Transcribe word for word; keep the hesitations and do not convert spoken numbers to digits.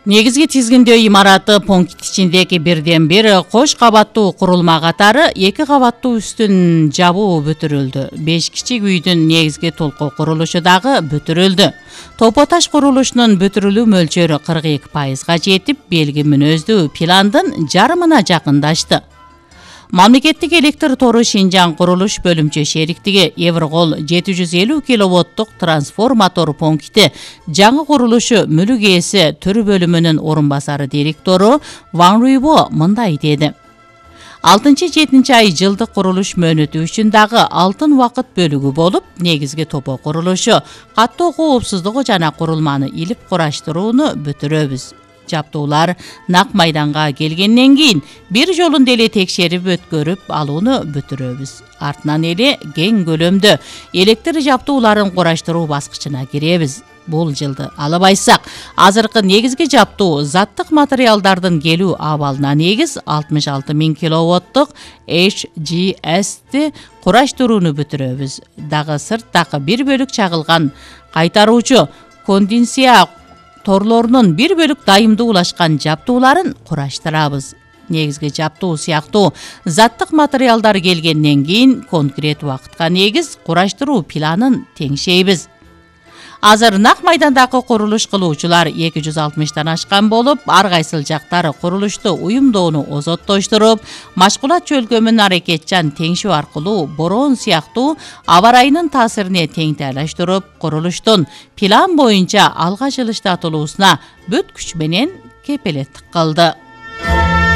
Негизги тизгиндөө имараты пункт ичиндеги бирден бир кош кабаттуу курулма катары эки кабаттуу үстүн жабуу бүтүрүлдү. беш кичик үйдүн негизги толку курулушу дагы бүтүрүлдү. Топо таш курулушунун бүтүрүлүү мөлчөрү кырк эки пайызга жетип, белги мүнөздүү пландын жарымына жакындашты. Мамлекеттик электр тору Шинжаң курулуш бөлүмчө шериктиги Еврокол жети жүз элүү киловаттык трансформатор пункти жаңы курулушу мүлүк ээси төр бөлүмүнүн орун басары директору Ван Руйбо мындай деди. алтынчы жетинчи ай жылдык курулуш мөөнөтү үчүн дагы алтын убакыт бөлүгү болуп, негизги топо курулушу, каттоо коопсуздугу жана курулманы илип кураштырууну бүтүрөбүз. Жаптуулар нак майданга келгенден кийин бир жолун деле текшерип өткөрүп алууну бүтүрөбүз. Артынан эле кең көлөмдө электр жаптууларын кураштыруу баскычына киребиз. Бул жылды алабайсак, азыркы негизги жаптуу заттык материалдардын келүү абалына негиз алтымыш алты миң киловаттык эйч джи эсти кураштырууну бүтүрөбүз. Дагы сырттагы бир бөлүк чагылган кайтаруучу конденсия торлорунун бир бөлүк дайымдуулашкан жаптууларын кураштырабыз. Негизги жаптуу сыяктуу заттык материалдар келгенден кийин конкрет убакытка негиз кураштыруу планын теңшейбиз. Азыр нак майдандагы курулуш кылуучулар эки жүз алтымыштан ашкан болуп, ар кайсыл жактары курулушту уюмдоону озоттоштуруп, машкулат чөлкөмүн аракетчан теңшүү аркылуу бороон сыяктуу аба ырайынын таасирине тең тайлаштырып, курулуштун план боюнча алга жылыштатылуусуна бүт күч менен кепилеттик кылды.